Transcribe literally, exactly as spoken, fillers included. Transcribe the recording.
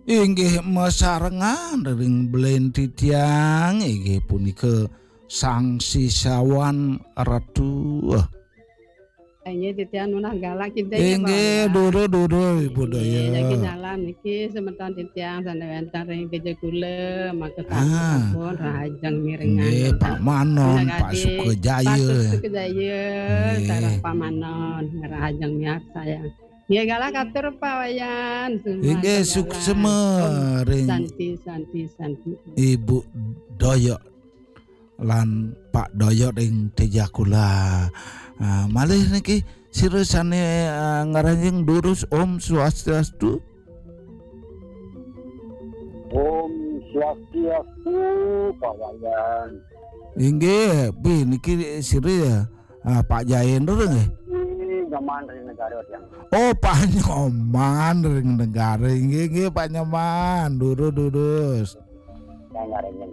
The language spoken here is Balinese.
Inggih masarengan ring belen titiang, inggih punika Sang Sisawan Ratu. Inggih titiang nunas galak kita. Inggih, duru-duru Ibu Daya. Niki nyalam niki semeton titiang sane wenten ring Tejakula, maka sampun rahajeng mirengan. Nggih, Pak Manon, Pak Sukajaya. Pak Sukajaya, sareng Pak Manon, rahajeng miarsayang. Nggih, galak atur Pak Wayan. Inggih, suksema ring Santi, Santi, Santi. Ibu Doyok lan Pak Doyok ring Tejakula. Ah, malih niki sira sane, ah, ngranjing durus Om Swastiastu. Om Swastiastu, Pak Wayan. Inggih, pi niki sira ya. Ah, Pak Jaendra nggih. Ini Nyoman ring negara tiang. Oh, Pak Nyoman ring negara. Inggih, inggih, Pak Nyoman. Duru durus. Yang ngaranyen.